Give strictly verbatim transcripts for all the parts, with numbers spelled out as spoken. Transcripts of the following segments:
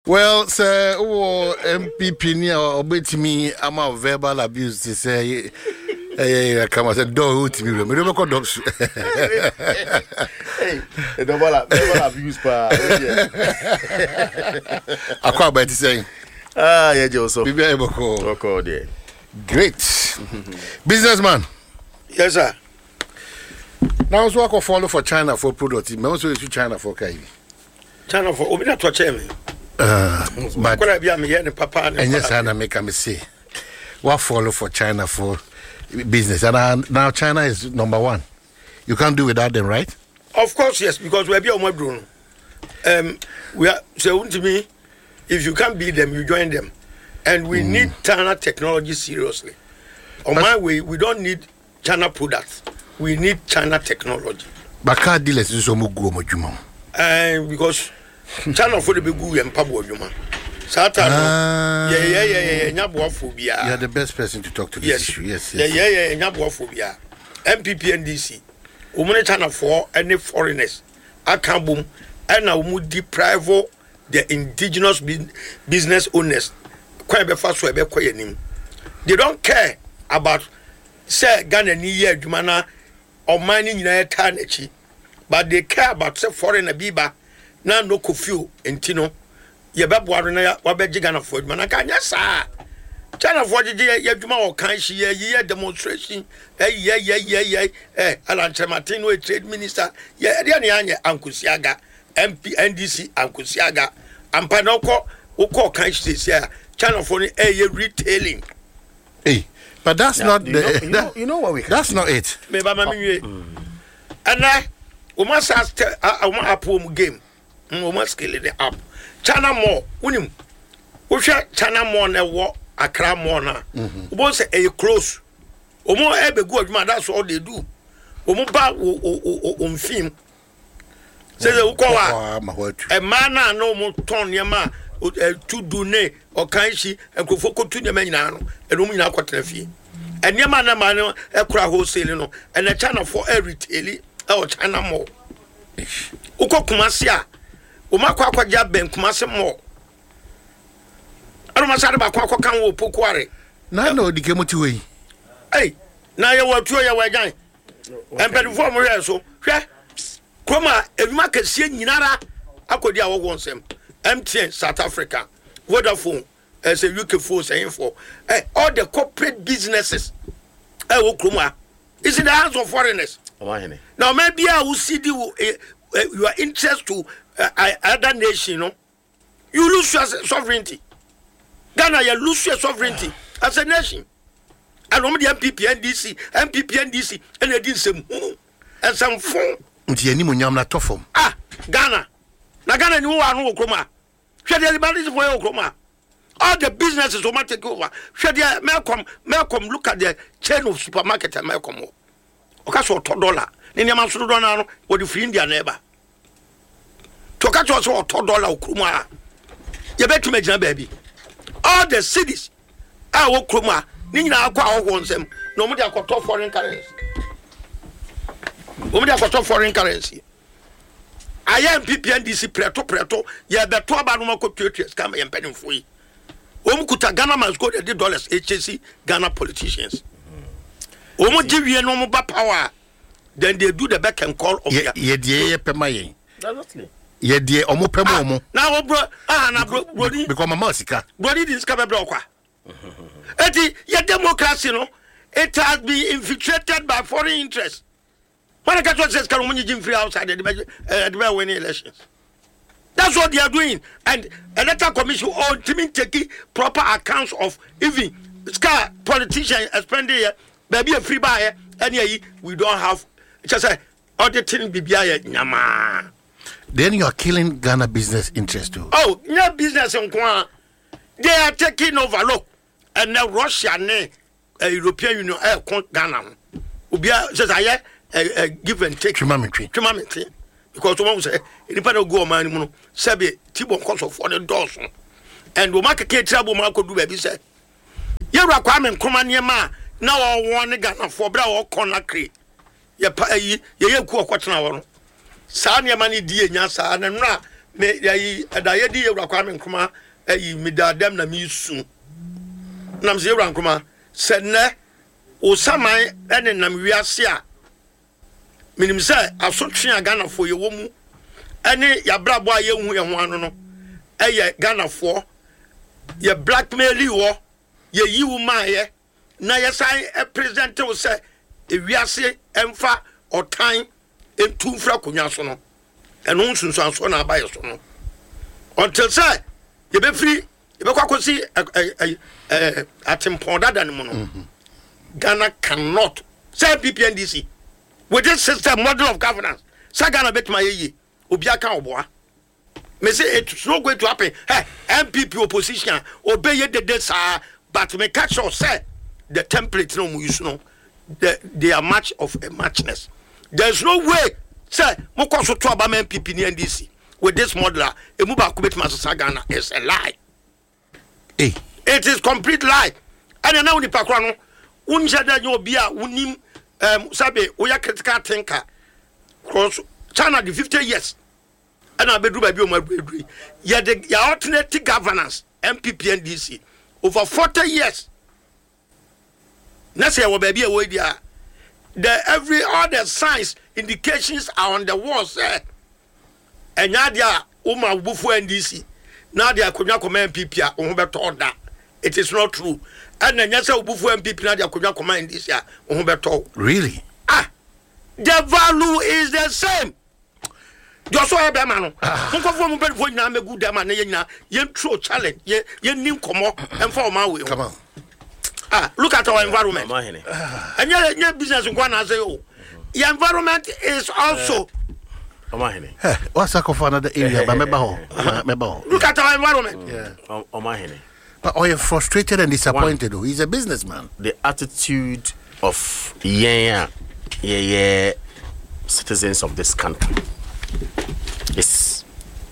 Well, sɛ wowɔ N P P ni a ɔbɛtumi ama verbal abuse te sɛ ɛyɛ yɛ kama sɛ dɔɔ wotumi wura mede wobɛkɔ dɔm so. Verbal verbal abuse paa. Akɔ aba, ɛte sɛn? Ah, yɛ gye so. Biribi ayɛ bɔkɔɔ? Bɔkɔɔ deɛ. Great businessman. Yes, sir. Na nso akɔ follow for China for product mɛ nso yɛsu China for ka yi. China for obi na tɔ kyɛn mi. Uh, but Akɔla bi a meyɛ ne papa ne ɛnyɛ saa na meka me se wa follow for China for business and uh, now China is number one. You can't do without them, right? Of course, yes, because we be ɔmo aduro no, um, we are sɛ wuntumi, if you can't beat them, you join them, and we mm. need China technology seriously. On my way, we don't need China products, we need China technology. But car dealers nso ɔmo gu ɔmo adwuma mu. uh, because China fo de bɛ gu yɛn mpaboa adwuma saa ta no, yɛ yɛ yɛ yɛ nya boafo biara. You are the best person to talk to this yes issue. Yes yɛ yes yɛ yɛ nya boafo biara. N P P, N D C, wɔn ne China foɔ ɛne foreigners aka bom ɛna wɔn deprive the indigenous business owners kwan bɛfa so ɛbɛkɔ yɛn anim. They don't care about sɛ Ghana ni yɛ adwuma na ɔman ne nyinaa taa n'akyi, but they care about sɛ foreigner bi ba na no kofio nti no yɛbɛboa no na wabɛgye Ghanafoɔ adwuma. Na nka nyɛ saa, Chinafoɔ gyegye yɛ adwuma wɔ kan hyi yɛ yɛ demonstration ɛyɛ yɛ yɛ yɛ ɛ Alan Kyerematen no yɛ trade minister yɛ ɛdeɛ ne yɛanyɛ ankosi aga M P N D C ankosi aga ampa na ɔkɔ wokɔ kan hyi sisi a Chinafoɔ no ɛyɛ retailing. Hey, but that's Yeah, not you the know, you know, you know what we can that's do? Not it. Meba ma mi nwie. Ɛnɛ wɔn asa tɛ wɔn app wɔn game, wɔn scale the app. China Mall, wunim wohwɛ China Mall na ɛwɔ Accra Mall na wɔn sɛ ɛyɛ close. Wɔn ɛbɛgu adwuma, that's all they do. Wɔn ba wɔ wɔ wɔ nfin sɛ sɛ wokɔ wa Kɔ ama hɔ atu. Mmaa naa na wɔn tɔn nneɛma a ɛtu ne ɔkan hyi nkurɔfoɔ kotu nneɛma nyinaa no, ɛna wɔn nyinaa kɔtena fie. Nneɛma na mmaa no ɛkora wholesale no, ɛna Chinafoɔ ɛretail ɛwɔ China Mall. Wokɔ Kumase a, wɔn akɔ akɔgye abɛn Kumase Mall, ɛna wɔn asade baako akɔka wɔ Pokuare. Na na odi kemu ti hɔ yi. Ɛy, na yɛwɔ atuo, yɛwɔ agyan mpanimfoɔ a wɔhwɛ so. Hwɛ kurom a edwuma kɛseɛ nyinara akɔdi a wɔwɔ nsɛm: M T N South Africa, Vodafone ɛsɛ U K fo sɛyinfoɔ ɛ all the corporate businesses ɛwɔ kurom a is in the hands of foreigners. Ɔmahene. Na ɔman biara a wosi di wo eh, eh, your interest to uh, other nation no, you lose your sovereignty. Ghana yɛ lose your sovereignty as a nation, ɛna wɔn de N P P N D C, N P P N D C ɛna edi nsɛm hunu, nsɛm fon. Nti anim onyam na tɔ fam. Ah, Ghana na Ghana ni wo wa ano wɔ kurom a, hwɛ deɛ Lebanese fo yɛ wɔ kurom a, all the businesses wɔn take over. Hwɛ deɛ Melcom Melcom look at the chain of supermarket a Melcom wɔ. Ɔka sɛ ɔtɔ dollar ne nneɛma nso dodoɔ naa no wɔde firi India na ɛba tí ɔka kyerɛ sɛ ɔtɔ dollar wɔ kurom a yɛbɛtumi agyina baabi. All the cities a wɔ kurom a ne nyinaa akɔ ahɔhoɔ nsɛm na wɔn de akɔtɔ foreign currency, wɔn de akɔtɔ foreign currency. Ayɛ N P P N D C prɛto prɛto yɛbɛto aba no ma kɔ tuatua sika ma yɛn mpanimfoɔ yi. Wɔn kuta Ghana must go de dollars ekyesi Ghana politicians. Wɔn gye wie na wɔn ba power, then they do the beck and call of yɛ their. Yɛ deɛ yɛ pɛ ma yɛn. Exactly. Yɛ deɛ ɔmo pɛ ma ɔmo. Na wɔ bro ah na bro broni. Because mama sika. Broni di sika bɛbrɛ ɔkwa. Eti yɛ democracy no, it has been infiltrated by foreign interest. Wɔn a kɛtɛ sɛ sika no wɔn nyigye nfiri outside ɛde bɛ ɛde bɛ win elections. That's what they are doing, and Electoral Commission ɔntumi take proper accounts of even sika politician spending yɛ baabi efiri ba yɛ ɛne ayi. We don't have kyɛ sɛ auditing biribi ayɛ nyamaa. Then you are killing Ghana business interest too. Oh, nyɛ business nko a, they are taking over. Look, ɛnɛ Russia ne uh, European Union ɛɛko Ghana ho. Obiara sɛ sɛ ayɛ ɛ ɛ give and take. Twema me twe. Twema me twe, because wɔn sɛ nipa na ogu ɔman no mu no sɛbi tibɔ nkɔsɔfoɔ ne dɔɔso and wɔn akeka etiri abo wɔn akɔdu baabi sɛ yɛwura Kwame Nkrumah nneɛma a na wɔwɔ ne Ghanafoɔ bere a wɔkɔ nakre yɛ pa ayi yɛyɛ ku ɔkɔtena hɔ no, saa nneɛma no di enya saa na nnura Me yɛyi ɛda yɛdi Yɛwura Kwame Nkrumah ɛyi, meda dɛm na mesu nam sɛ Yɛwura Nkrumah sɛ nnɛ osaman ɛne nam wiase a menim sɛ asotwe a Ghanafoɔ yɛwɔ mu ɛne yɛabrabɔ a yɛnhu yɛn ho ano no, ɛyɛ Ghanafoɔ yɛ blackmail wɔ yɛyi wo maayɛ na yɛsan present wo sɛ ewiase ɛmfa ɔtan ntu mfiri akonnwa so no, ɛno nsunsuansoɔ na aba yɛ so no until sɛ yɛbɛfiri yɛbɛkɔ akɔsi ɛ ɛ ɛ atempɔn dada no mu no, Ghana cannot sɛ N P P N D C with this system, model of governance, sɛ Ghana bɛtumi ayɛ yie. Obi aka ɔboa me say it's not going to happen. Hey, N P P opposition a obeye dede saa, but me catch sure sɛ the template no mu use no, the, they are much of a muchness. There is no way sɛ mokɔ so to aba ma N P P ne N D C with this model a emu baako bɛtumi asesa Ghana. It's a lie. Hey. It is complete lie. Ɛna na wo nipa kora no wonhyɛ dɛ nyɛ obi a wonim um, sɛbe woyɛ critical thinker cross China de fifty years ɛna abɛduru baabi a ɔmo aduru yi. Yɛde yɛ alternative governance, N P P N D C, over forty years na sɛ yɛwɔ baabi a ɛwɔ yi deɛ, the every all the signs, indications are on the wall sɛ ɛnyɛ adeɛ a woma wobufu N D C na ade akonnwa kɔma N P P a wo ho bɛtɔ da. It is not true. Ɛna ɛnyɛ sɛ wobufu N P P na ade akonnwa kɔma N D C a wo ho bɛtɔ. Really? Ah, the value is the same. Deɛ ɔsɔ yɛ bɛrima no, nkɔfoɔ mu mpanyinfoɔ nyinaa mɛgu dɛm a ne yɛ nyinaa yɛn challenge, yɛ yɛn ni nkɔmɔ ɛnfa ɔman wei ho. Come on. Ah, look at our environment. Ɔmahene. Ɛnyɛ ɛnyɛ business nko anaasɛ o your environment is also Ɔmahene. Hey, what's that for another area? But meba hɔ. Meba hɔ. Look at our environment. Yeah. Ɔmahene. But oh, you're frustrated and disappointed though. He's a businessman. The attitude of yɛn a yɛyɛ citizens of this country is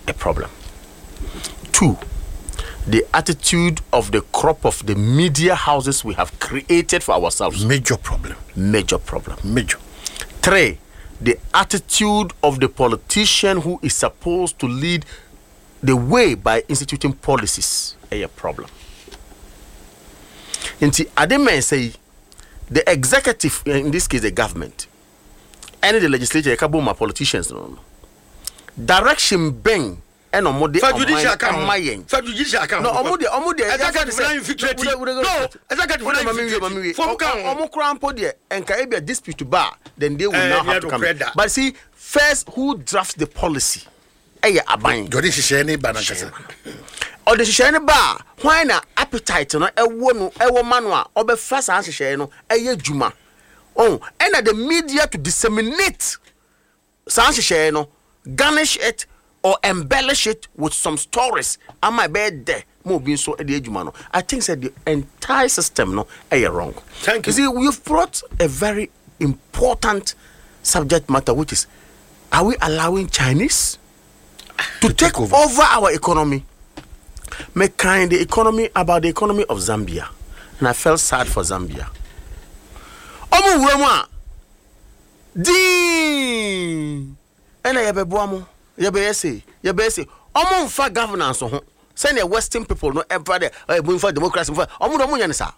a problem. Two, the attitude of the crop of the media houses we have created for ourselves, Major problem. Major problem. Major. Three, the attitude of the politician who is supposed to lead the way by instituting policies, a problem. Nti ade mmiɛnsa yi, the executive, in this case the government, ɛne the legislature yɛka bom ma politicians no no direction bɛn ɛna ɔmo de Fa judicial ɔman ka ho. ɛma yɛn? Fa judicial ka ho. No, ɔmo deɛ ɔmo deɛ Executive na infiltrate. No, executive na infiltrate fom ka ho. Ɔmo kora mpo deɛ, nka ebi a dispute ba, then they will Eh, now have to yeah, come in. no, But see, first, who drafts the policy? Ɛyɛ aban. Jɔde hyehyɛ ne ba nankasa. Ɔde hyehyɛ no ba a, hwan na appetite no ɛwɔ no ɛwɔ ma no a ɔbɛfa saa nhyehyɛeɛ no ɛyɛ dwuma ɔn? Ɛna the media to disseminate saa nhyehyɛeɛ no, garnish it or embellish it with some stories ama ɛbɛyɛ dɛ ma obi nso de adwuma no. I think sɛ the entire system no ɛyɛ wrong. Thank you. You see, you've brought a very important subject matter, which is, are we allowing Chinese to, take, take over. over our economy? Me kind the economy about the economy of Zambia, and I felt sad for Zambia. Ɔmo wura mu a diin ɛna yɛbɛboa mo, yɛbɛyɛ se yɛbɛyɛ se ɔmo nfa governance ho sɛnea Western people no ɛmfa dɛ ɛyɛ mo nfa democracy nfa ɔmo de ɔmo nyɛ ne saa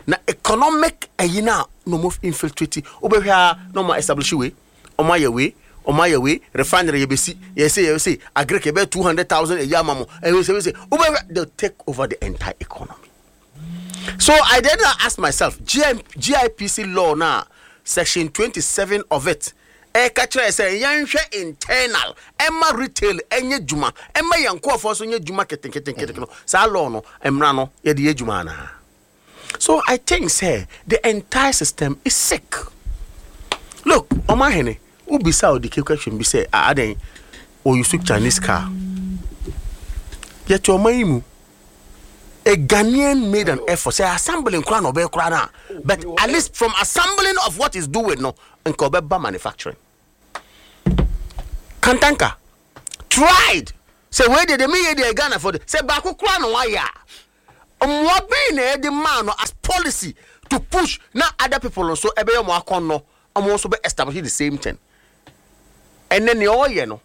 na economic ɛyi na na ɔmo infiltrate. Wobɛhwɛ a na ɔmo establish wei, ɔmo ayɛ wei, ɔmo ayɛ wei, refinery yɛbɛsi, yɛsɛ yɛsɛ agric yɛbɛ two hundred thousand ɛyi ama mo, ɛyɛ sɛ yɛsɛ wobɛhwɛ, they take over the entire economy. So I then ask myself, G M, G I P C law na section twenty-seven of it ɛka kyerɛ sɛ yɛnhwɛ internal, ɛma retail ɛnyɛ dwuma, ɛma yɛn nkurɔfoɔ nso nyɛ dwuma keteketekete no, saa law no mmara no yɛde yɛ dwuma anaa? So I think sɛ the entire system is sick. Look, ɔmahene, wobisa ɔde question bi sɛ ah, adɛn ɔuse Chinese car? Yɛte ɔman yi mu, a Ghanaian made an effort sɛ assembling koraa na ɔbɛyɛ koraa na, but at least from assembling of what he's doing no, nka ɔbɛba manufacturing. Kantanka tried sɛ wei deɛ deɛ meyɛ deɛ Ghana for de sɛ baako koraa na wayɛ a, mmoa bɛn na yɛde maa no as policy to push na other people nso ɛbɛyɛ ɔmo akɔnnɔ, ɔmo nso bɛ establish the same thing? Ɛnɛ nea ɔyɛ no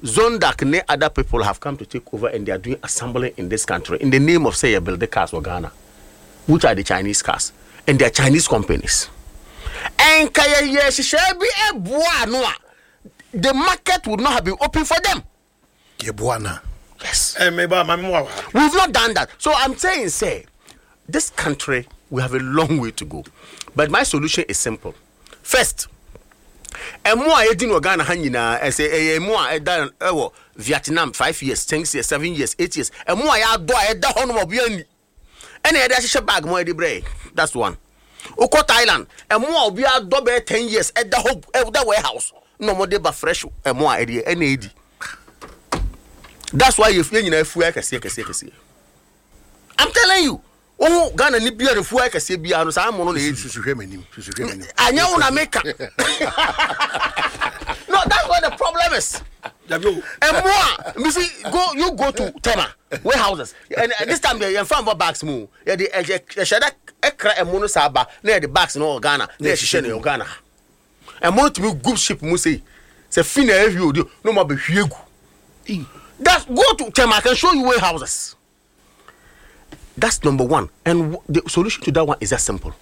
Zondak ne other people have come to take over and they are doing assembling in this country in the name of say build the cars for Ghana, which are the Chinese cars and they are Chinese companies. And kaya ye hyehyɛ bi ɛboa ano a the market would not have been open for them. Yɛboa na. Yes. Eh, meba maame mu wɔ ha. We've not done that. So I'm saying, say, this country, we have a long way to go. But my solution is simple. First, ɛmo a yɛdi no wɔ Ghana ha nyinaa ɛsɛ ɛyɛ ɛmo a ɛda ɛwɔ Vietnam five years, ten years, seven years, eight years. Ɛmo a yɛadɔ a ɛda hɔ nom a obiara ni. Ɛna yɛde ahyehyɛ bag mu a yɛde brɛ. That's one. Wokɔ Thailand, ɛmo a obiara dɔ bɛyɛ ten years ɛda hɔ ɛda warehouse na wɔde ba fresh ɛmo a ɛde ɛna edi. That's why yɛ yɛn nyinaa fuo kɛseɛ kɛseɛ kɛseɛ. I'm telling you, wohu Ghana ni bia ne fuo kɛseɛ biara no saa mo no na yɛdi. Susu hwɛ m'anim. Susu hwɛ m'anim. Anyɛ wo na meka. No, that's what the problem is. Dabi o. Ɛmo a misi go you go to Tema warehouses and uh, this time yɛn fa nfa bags mu yɛde ɛhyɛ ɛhyɛ dɛ ɛkra ɛmo no saa ba na yɛde bags no wɔ Ghana na yɛhyehyɛ no wɔ Ghana ha. Ɛmo no tumi gu ship mu sei sɛ fi na ɛhwie odi na ɔmo abɛhwie gu. That's go to Tema I can show you warehouses. That's number one. And w- the solution to that one is that simple.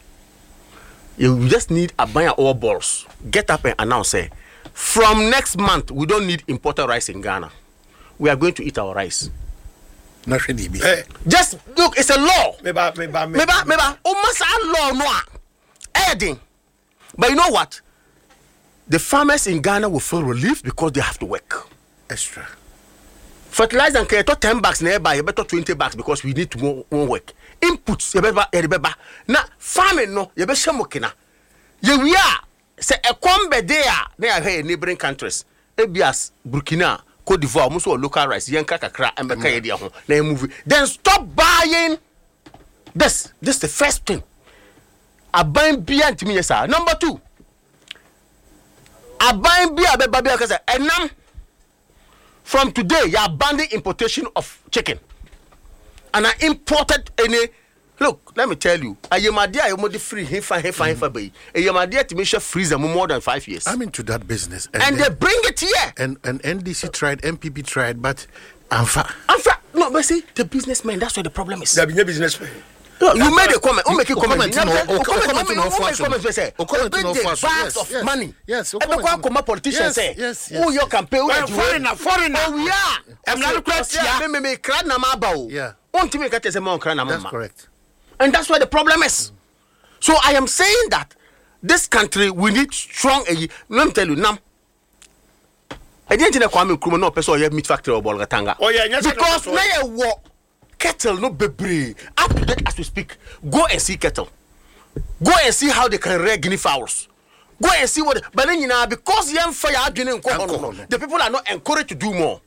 You just need a buy all balls. Get up and announce say, from next month we don't need imported rice in Ghana. We are going to eat our rice. Na hwɛ deɛ bi. Eh, Just look, it's a law. meba meba Meba, meba. O masa law no a. Adding. But you know what? The farmers in Ghana will feel relieved because they have to work. Extra. Fertilizer nka yɛtɔ ten bags na ɛba yɛbɛtɔ twenty bags because we need to more, more work. Inputs yɛbɛba yɛde bɛba na farming no yɛbɛhyɛ mo kena. Yɛwie a sɛ ɛkɔm bɛde a na yɛahwɛ yɛ neighboring countries ebi as Burkina, Cote d'Ivoire ɔmo nso wɔ local rice yɛnka kakra ɛmbɛka yɛ deɛ ho na yɛ move then stop buying this this is the first thing. Aban bia ntumi yɛ saa. Number two, aban bi a bɛba bi a kasa ɛnam from today you are banning importation of chicken and I imported any look let me tell you ayemade a yɛmode firi hefa hefa hefa bɛyi ayemade tumi hyɛ freezer mu more than five years I'm into that business. and then- they bring it here and and NDC tried, NPP tried, but amfa. in fact no but see the businessmen that's where the problem is Dabi nye businessman. No, you made a comment. Oh, make a O comment. comment no, O o- o comment, comment no o make for comment. Say, O comment no big for bags yes, of yes, money. yes, o Ebe comment kwa no. koma politician Yes, say, yes, yes, who your yes. campaign? Who Well, your foreigner, foreigner. Oh yeah. Emna no kura tia. Me me me kra na ma ba o. Yeah. Ontimi ka kyerɛ sɛ ma ɔnkra na ma That's ma. correct. And that's where the problem is. So I am saying that this country we need strong. eh, Let me tell you now. ɛdeɛ nti na Kwame Nkrumah na ɔpɛ sɛ ɔyɛ meat factory wɔ Bolgatanga. Ɔyɛ, ɛnyɛ sɛ na because ɔpɛ sɛ na yɛ wɔ cattle no bebree up to date as we speak go and see cattle go and see how they can rear guinea fowls go and see what but ne nyinaa because yɛn fa yɛ adwene nkɔ hɔ no Nkɔ hɔ no. the people are not encouraged to do more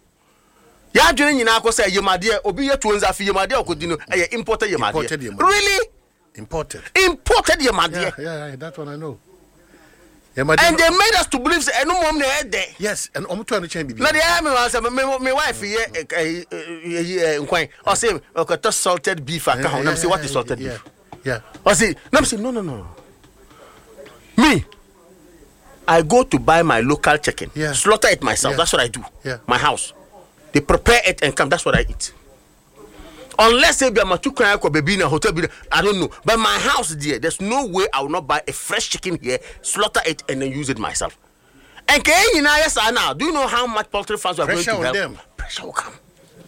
yɛ adwene nyinaa kɔ sɛ yemadeɛ obi yɛ tuo nzafi yemadeɛ ɔkɔdi no ɛyɛ imported yemadeɛ Imported yemadeɛ. really Imported. imported yemadeɛ Yeah, yeah, yeah, that one I know. Yeah, my and they made us to believe sɛ ɛno mom na ɛyɛ dɛ yes, and omo to ano bibi. na deɛ ɛyɛ me wa sɛ me me wife yɛ ɛ ɛ ɛ nkwan ɔsɛ ɔkɔtɔ salted beef aka ho na me say what is salted yeah, beef Yeah. ɔsɛ na me say no no no me I go to buy my local chicken Yeah. slaughter it myself Yeah. that's what I do Yeah. my house they prepare it and come that's what I eat unless ebi amatu kwan akɔ baabi na hotel bi na I don't know but my house there there's no way I will not buy a fresh chicken here slaughter it and then use it myself and kɛyɛ nyinaa yɛ saa now do you know how much poultry farms we are Pressure going to on help them. pressure will come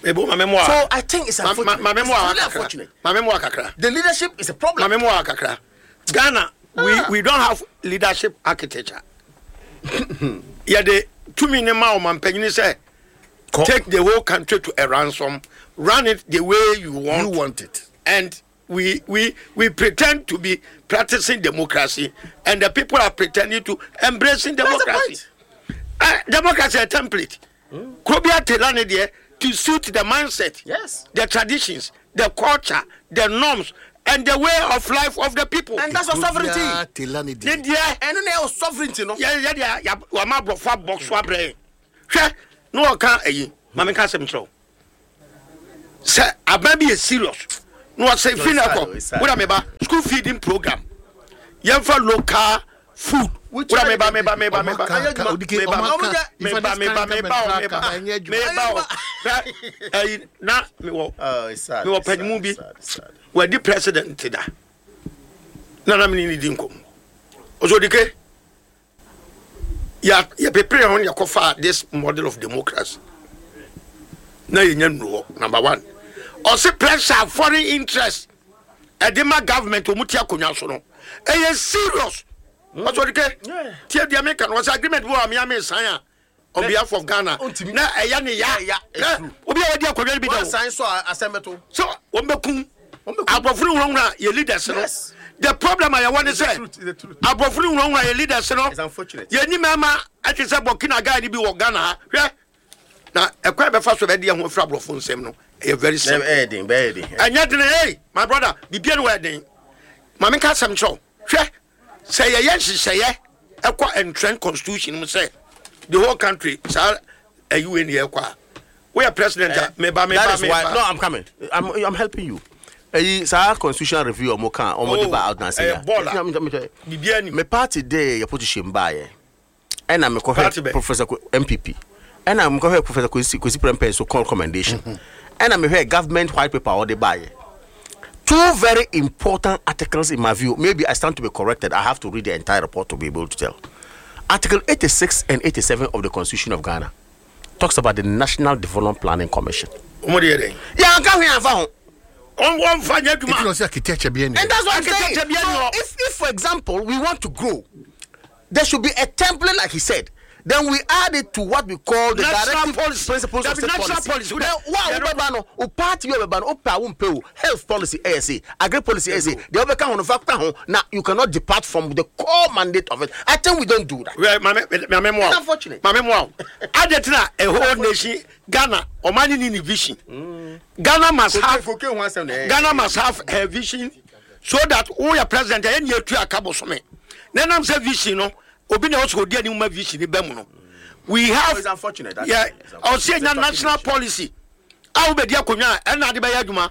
Ebo maame mu a. so I think it's Ma- ma- unfortunate Maame it's mu a really kakra. unfortunate Maame mu a kakra. the leadership is a problem Maame mu a kakra. Ghana we we don't have leadership architecture. Yɛde tumi ne ma ɔmampanyini sɛ take the whole country to a ransom run it the way you want. You want it. and we we we pretend to be practicing democracy and the people are pretending to embracing That's the democracy uh, democracy a template krobia tailor ne deɛ to suit the mindset Yes. the traditions the culture the norms and the way of life of the people And that's your sovereignty. Tailor ne ne deɛ. deɛ ɛno na ɛwɔ sovereignty no yɛ yɛ deɛ ya wama aborɔfo abɔ so abrɛ yɛn hwɛ na wɔka ayi maame ka asɛm kyerɛ wo sɛ aban bi yɛ serious na wɔsɛ fi na it's sad, kɔ it's sad. wona meba school feeding program yɛmfa local Food. Wura meba meba meba meba. Meba meba meba meba meba meba o. Ɛyi na mewɔ mewɔ panyinmu bi wadi president da. Na na mene ne di nkɔmmɔ. Ɔsɛ ya yɛ prepare ho yɛ kɔfa this model of democracy. Na yɛnya nnuru hɔ number one. Ɔsɛ pressure foreign interest ɛde ma government ɔmu ti akonnwa so no. Ɛyɛ serious. Ɔsɛ odike tie deɛ meka no ɔsɛ agreement bi wɔ amea me sign a on behalf of Ghana na ɛyɛ ne ya obi a wadi akonnwa no bi da o sign so asɛm so wɔn bɛ kun aborɔfo no nwurawura yɛ leaders no. The problem a yɛwɔ ne sɛ aborɔfo no nwurawura yɛ leaders no yɛ ni mɛma ɛte sɛ Burkina guy ni bi wɔ Ghana ha hwɛ na ɛkwan bɛfa so bɛdi ɛho afiri aborɔfo nsɛm no ɛyɛ very simple. Ɛnyɛ den hey my brother bibia no wɔ ɛden maame nka asɛm kyerɛw hwɛ sɛ yɛyɛ nhyehyɛeɛ ɛkɔ entrenched constitution mu sɛ the whole country saa ɛyi wei ni yɛkɔ a woyɛ president a meba meba meba. No, I'm coming. I'm I'm helping you. Eyi saa constitutional review ɔmo kan ɔmo de ba out na se ya. Bibia ni. Me party dey yɛ position ba yɛ. Ɛna me kɔhwɛ Professor M P P. Ɛna me kɔhwɛ Professor Kwesi Kwesi Prempeh so recommendation. Ɛna me hwɛ government white paper ɔde ba yɛ. Two very important articles in my view. Maybe I stand to be corrected. I have to read the entire report to be able to tell. Article eighty-six and eighty-seven of the Constitution of Ghana talks about the National Development Planning Commission. Yeah, and that's what I'm saying. So if, if, for example, we want to grow, there should be a template, like he said. Then we add it to what we call the directive principles of state policy. policy. Then, health policy, A S A, agri policy, A S A. The other kind of now you cannot depart from the core mandate of it. I think we don't do that. Well, it's unfortunate. A whole nation, Ghana, Omani ni vision. Ghana must have Ghana must have a vision so that all your president, any two akabosome. Then I'm say vision, no. Obi na also di any vision ni bemu no. We have it's unfortunate. Yeah, I'll say national policy. I will be there kunya and na de be adwuma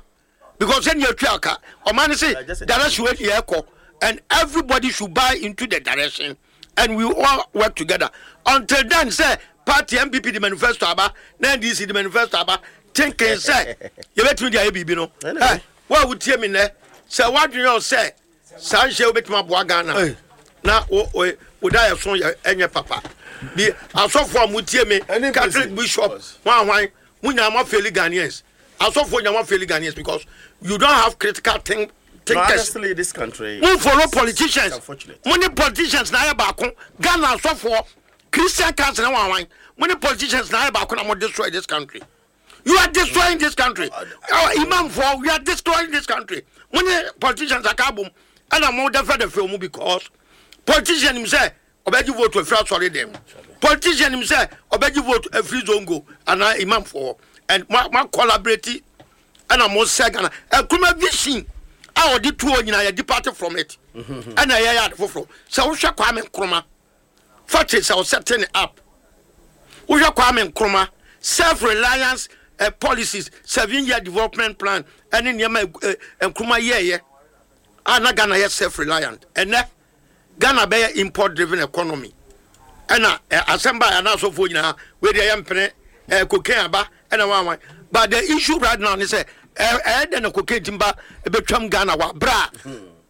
because any two aka o man say direction we here and everybody should buy into the direction and we all work together. Until then say party M P P the manifesto aba, na N D C the manifesto aba, thinking say you betumi dia bibi no. Eh, wa wo tie me ne say what do you say? San she obetuma boa Ghana. Na o o o son enye papa bi asofo amutie me Catholic bishop wan wan mu nya ma fail Ghanaians asofo nya ma fail Ghanaians because you don't have critical think thinkers. No, honestly, this country we follow politicians. Many politicians na ya baako Ghana asofo Christian council wan wan many politicians na ya baako na mo destroy this country. You are destroying this country. Our imam for we are destroying this country. Many politicians akabum and mo defend the film because politician himself obeji vote to free sorry them. Politician himself obeji vote a free zongo and imam for and ma, ma collaborate and I'm more second a kuma vision I did two nyina ya depart from it. And I ya for for so wo hwe Kwame Nkrumah forty so setting up wo hwe Kwame Nkrumah self-reliance uh, policies seven year development plan and niyama Nkrumah ye ye ana Ghana ye self-reliant and Ghana be import driven economy. And uh, assemble and also for you now where they am cocaine aba and one. But the issue right now is eh eh the cocaine timber between Ghana wa bra.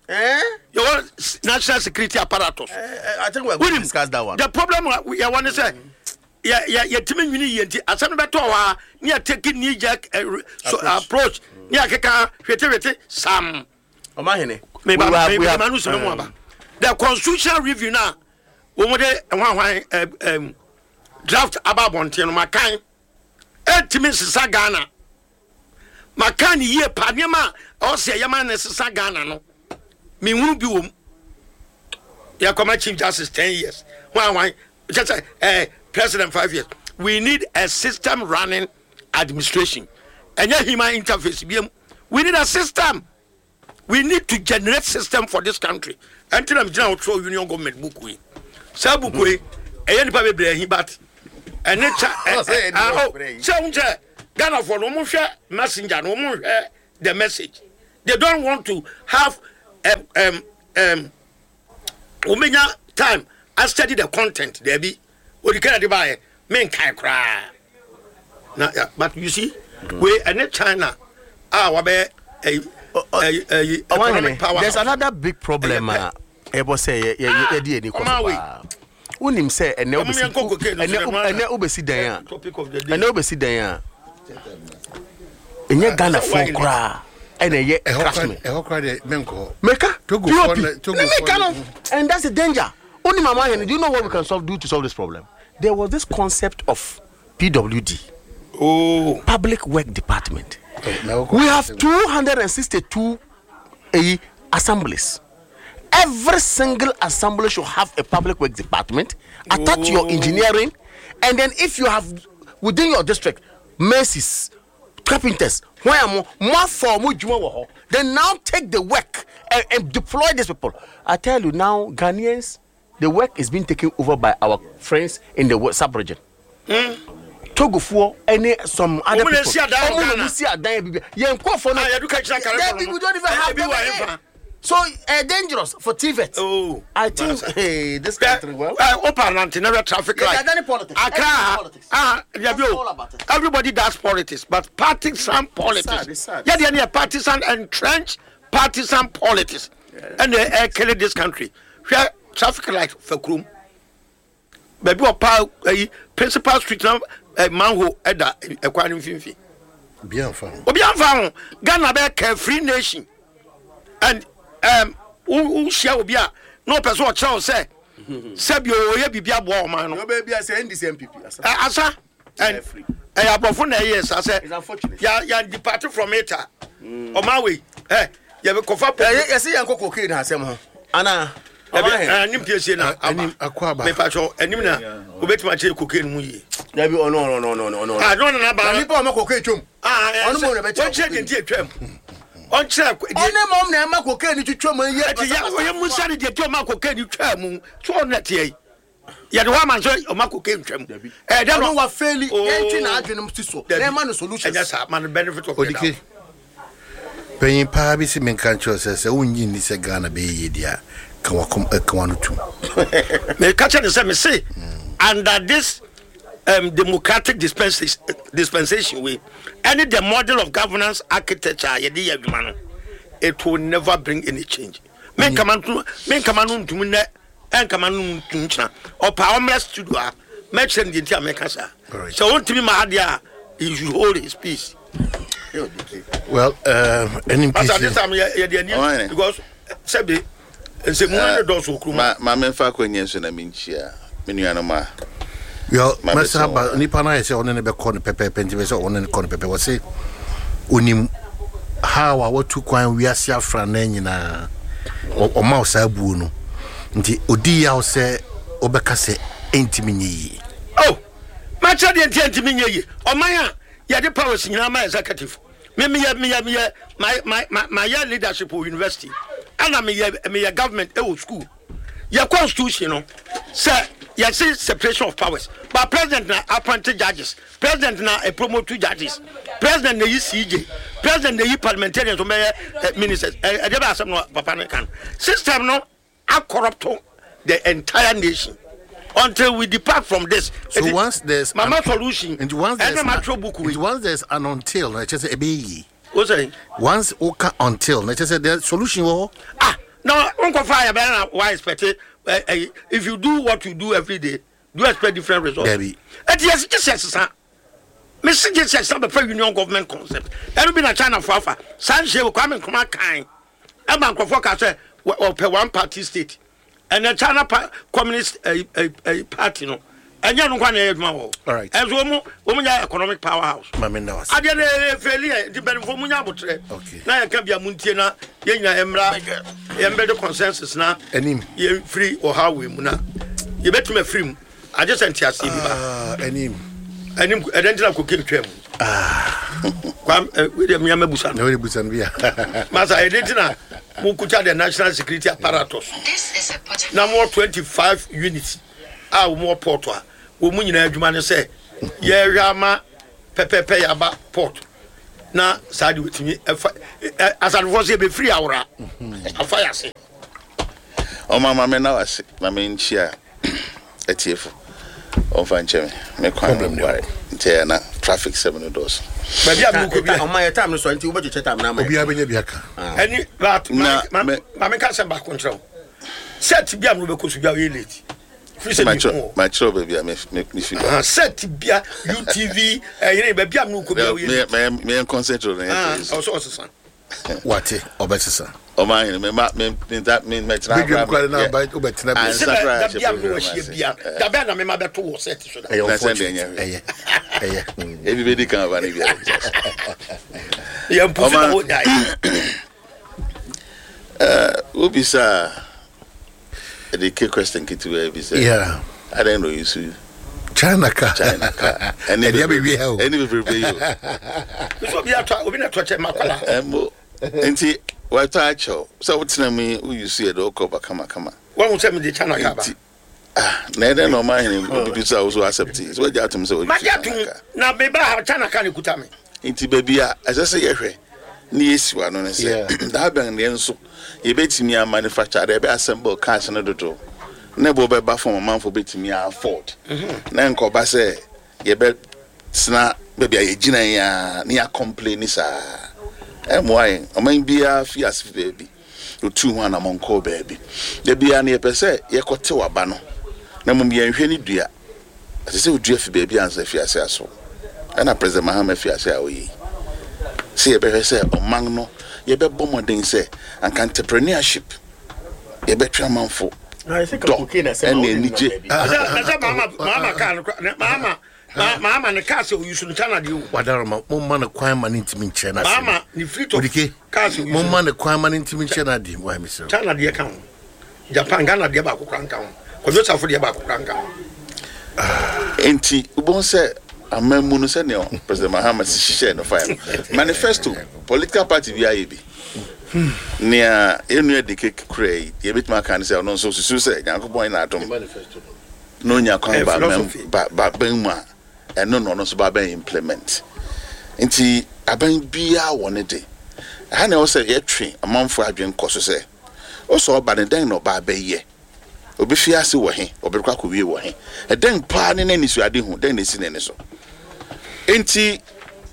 Eh? Your national security apparatus. Eh, I think we're going to discuss that one. The problem we want to say yeah yeah yeah timi nwini ye nti asem be to wa near taking knee jerk so approach near keka hwete hwete sam. Omahene. We have the constitutional review now, we want um, draft about bonte no makan. Etimi sisa Ghana. Makan ye pa niema o se ye man sisa Ghana no. Me hunu bi wom. Ya come chief justice ten years. Why why just eh president five years. We need a system running administration. And human interface. We need a system. We need to generate system for this country. Until I'm general throw union government book we. Say book we. Eh nipa bebre hin but. Ene cha oh say unche Ghana for no mo hwe messenger no mo hwe the message. They don't want to have um um um omenya time I study the content dabi odi kana de ba ye me nkai kra na ya, but you see mm. we ɛne China a wabɛ ɛyi ɛyi economic power. There's another big problem a ɛbɔ sɛ yɛ yɛ yɛ di ɛni kɔ so paa. Wonim sɛ ɛnɛ wobɛsi ɛnɛ ɛnɛ wobɛsi dan a ɛnɛ wobɛsi dan a ɛnyɛ Ghana fo koraa ɛna ɛyɛ craftsman. Ɛhɔ koraa deɛ menkɔ. Meka Togo P O P. fo na- Togo Ne fo meka na- no, and that's the danger. Wonim ama hene, do you know what we can solve do to solve this problem? There was this concept of P W D. Oh. Public Work Department. Oh, We have two hundred sixty-two eh, assemblies. Every single assembly should have a public work department attached to your Oh. engineering, and then if you have within your district masons, carpenters, where more, more for more juma wo ho, then now take the work and, and deploy these people. I tell you now, Ghanaians, the work is being taken over by our friends in the sub-region. Mm. Togo for any some other Omo na people. si adan Omo na Ghana. si adan bibi. Yen ko for no. Ah, you do catch that There we don't even have Ebi them wa here. efa. So uh, dangerous for T V E T. Oh, I think Masa. hey, this country well. Uh, open and never traffic Yeah, light. they're done politics. Accra, Everything politics. ah, yeah, That's yo, all about it. Everybody does politics, but partisan politics. It's sad, it's sad. Yeah, they are partisan entrenched partisan politics, Yeah. and they are killing this country. Where traffic light for Krum. Baby, or pa, eh, principal street now, eh, manhole, eda, ekwa ni mfimfi. Obi amfa ho. Obi amfa ho. Ghana be carefree nation. And um, who, who share obi a no person o kyerɛ sɛ sɛ bi o ye bibia boa o man no. No baby, I say N D C M P P. Asa. Eh, asa. And Free. eh abrofo na ye sa sɛ It's unfortunate. Ya ya depart from it. O ma we. Eh, ye be kofa po. Eh, ye say yanko cocaine asem ho. Ana. Eh, anim piesie na Anim akɔ aba. Me pa cho anim na obetuma kyerɛ cocaine mu yie. Dabi oh no no no no no no. Ah, no na ba. Na nipa o ma cocaine twom. Ah, eh, Ono mo na be kyerɛ. Wɔn kyerɛ deɛ nti etwam. Ɔnkyerɛ Ɔne mom na ɛma cocaine twitwa mu yɛ. Ɛti yɛ ɔyɛ musa ne deɛ tí ɔma cocaine twa mu so ɔno ɛteɛ yi. Yɛde hɔ ama nso ɔma cocaine twa mu. Ɛɛ dɛ Ɔno wa faili. Oh. Yɛntwe na adwene mu si so. Na ɛma no solutions. Ɛnyɛ saa ma no benefit of the Odike. doubt. Panyin paa bi si menka nkyerɛ sɛ sɛ wonnyi nni sɛ Ghana bɛyɛ yie deɛ a, ka wakɔm ka wano tum. Meka kyerɛ ne sɛ me se under this um, democratic dispensation, dispensation way, any the model of governance architecture yɛde yɛ adwuma no, it will never bring any change. Me nkama ntum, me nkama no ntum nɛ, ɛnkama no ntum kyena. Ɔpa ɔmrɛ studio a, mɛkyerɛ no deɛ nti a mɛka saa. Alright. Sɛ wɔntumi ma adeɛ a, he should hold his peace. Well, um, N P C. Pastor, this time yɛ yɛ deɛ Ɔhene. ni because sɛbi nsɛmu ne dɔɔso kurom. Ma ma memfa akɔnyɛ nso na menkyia me nuanom a. Yo, Ma mɛsa bɛsɛ ba wɔn. nipa no ayɛ sɛ ɔne ne bɛkɔ no pɛpɛɛpɛ nti bɛ sɛ ɔne ne kɔ no pɛpɛ wɔ se onim how a watu kwan wiase afra na nyinaa Ɔ- ɔma wo saa buo no nti odi yaw sɛ wobɛka sɛ ɛntimi nyɛ yie. Oh, makyerɛ deɛ nti ɛntimi nyɛ yie. Ɔman a yɛde powers nyinaa ma executive. Me meyɛ meyɛ meyɛ my my my mayɛ leadership wɔ university ɛna meyɛ meyɛ government ɛwɔ school. Yɛ constitution no sɛ yɛse separation of powers, but president na appoint judges, president na e promote two judges, president na yi C J, president na yi parliamentarians wɔn bɛyɛ, eh, ministers. Ɛ, ɛdeɛ bɛ asɛm no papa no kan system no a corrupt the entire nation until we depart from this. So Eti, once there's mama an, solution, and once there's ɛna ma twerɛ book and wei. once there's an until, na kyerɛ sɛ ɛbɛyɛ yie. O sɛ Once woka until, na kyerɛ sɛ the solution wɔ hɔ. Ah, no, nkɔfa ayɛ bɛyɛ na wa expect it. Eh, eh, if you do what you do every day, do you expect different results? Debbie. Eti yɛsi gye sɛ sisan. Mesi gye sɛ sisan bɛfɛ union government concept. Ɛnu bi na China fo afa. Saa nhyɛ wɔ Kwame Nkrumah kan. Ɛma nkurɔfoɔ ka sɛ wɔ-, wɔpɛ one party state. Ɛnɛ China pa-, communist, eh, eh, eh, party no. Ɛnyɛ no nkwa na ɛyɛ adwuma wɔ hɔ. All right. Ɛnso wɔn mu, wɔn mu nyɛ economic powerhouse. Maame nna wase. Adeɛ no yɛ fɛli yɛ, nti mpanimfoɔ mu nya abotire. Okay. Na yɛka bia mu ntie na yɛn nyinaa yɛn mmra, yɛn bɛde consensus na Anim. yɛn firi ɔhaw wei mu na yɛbɛtumi afiri mu. Agye sɛ nteaseɛ bi ba. Ah, anim. Anim, ɛdɛn nti na cocaine twam? Ah. Kwam, eh, wei deɛ mmea mɛbusa no. Na wei de busa no bi a. Masa, ɛdɛn nti na mokuta the national security apparatus? This is a pot. Na mo twenty-five units a wɔn wɔ port a wɔn mu nyinaa adwuma ne sɛ yɛhwɛ ama pɛpɛpɛ yaba port na saa de wɔtumi ɛfa ɛ asadefoɔ sɛ yɛbɛfiri awora afa yase. Ɔma ma me na wase na me nkyia atiefo. Ɔmfa nkyɛ me me kwan Problem no ware nti ɛyɛ na traffic sɛm no dɔɔso. Baabi a mekɔ bi Ɔma yɛ time no so, nti wobɛkyekyɛ time no ama yɛ. Obiara bɛnya bi aka. Ɛni but Na ma me- ma me ka sɛm baako nkyerɛ wo. Set bi a mo bɛkɔ so bi a ɔyɛ late firi sɛ mi hu Makyerɛw baabi a me- me- mefi ba. o set bia U T V ɛyere baabi a mo kɔ bi a ɔyɛ late. Meyɛ concentrate no. Ah, Yɛ ɔsɛ ɔsesa. Wate, ɔbɛsesa. Ɔma ahene mema mɛtena. Bedwam kora na aba wobɛtena bi. Ah, Sɛ nsa koraa bɛ dabi a hyɛ mo wɔhyia program bia ase. dabi a na mema bɛto wɔ set so da. Ɛyɛ Na sɛ deɛ unfortunate. nyɛ hwee. Ɛyɛ ɛyɛ mm. Ebi bɛdi kan aba no bia. Yɛ mpusu na Ɔma- wɔn nyae. Wobisa a ɛde ke question ketewa bi sɛ Yeah. adɛn na ɔyi so China ka. China ka. Ɛde abɛwie ha o. Ɛne bebrebe yi o. Nso obi atɔ, obi na tɔ kyɛ makwala. Ɛmo nti watɔ akyɛw sɛ wotena mu yi, woyi so yɛ de wokɔ ba kamakama. Wɔn ho sɛ mi de China ka ba. Nti ah, na ɛdɛn na ɔma ahene obibi so a wo so accept yi sɛ wagya atom sɛ woyi Magye so atum China ka. Na meba ha, China ka ne kuta mi. Nti baabi a ɛsɛ sɛ yɛhwɛ ne yɛsi wa no ne Yeah. sɛ daa bɛn deɛ nso yɛbɛtumi a manufacture adeɛ ɛbɛ assemble cars no dodo ne bo bɛba fam, ɔmanfo bɛtumi a afford, na nkɔba sɛ yɛbɛtena baabi a yɛgyina yi a ne yɛacomplain saa. Ɛmmoa yɛn. Ɔman biara fi ase fi baabi otu ho anammɔnkɔɔ baabi. Da biara no yɛpɛ sɛ yɛkɔtew aba no, na mmom yɛnhwɛ ne dua. Ɛsɛ sɛ wodua fi baabi ansa fi ase aso. Ɛna President Mahama fi ase a ɔyɛ yi sɛ yɛbɛhwɛ sɛ ɔman no yɛbɛbɔ mmɔden sɛ anka entrepreneurship yɛbɛtwe amanfo dɔ ɛne anigye. Na sɛ maama maama kaa no kora maama maama ne kaa sɛ oyi so no China deɛ o. Wadaroma, momma no kwan ma ne ntimi nkyerɛ no. Maama ne fleet of Odike, cars oyi so. momma no kwan ma ne ntimi nkyerɛ no adeɛ wa mesrɛ. China deɛ ka ho, Japan, Ghana deɛ baako kora nka ho, Kwadwo Safo deɛ baako kora nka ho. Nti wobɛhu sɛ aman mu no, sɛnea President Mahama si hyehyɛɛ no fae no, manifesto, political party bi ayɛ bi. Nea ɛnua de ke kura yi, yɛbɛtumi aka ne sɛ ɔno nso susu sɛ Nyankopɔn na adom na onya kwan Eh, ba philosophy. ba ba bɛn mu a, ɛno na ɔno nso ba bɛn implement. Nti aban biara wɔ ne de. Ɛha na ɛwɔ sɛ yɛtwe amanfoɔ adwene kɔ so sɛ wosɛ ɔba ne dɛn na ɔba abɛyɛ, obi ase wɔ he, ɔbɛkɔ akɔwie wɔ he, ɛdɛn paa ne n'anisuade hu dɛn na esi n'ani so. Nti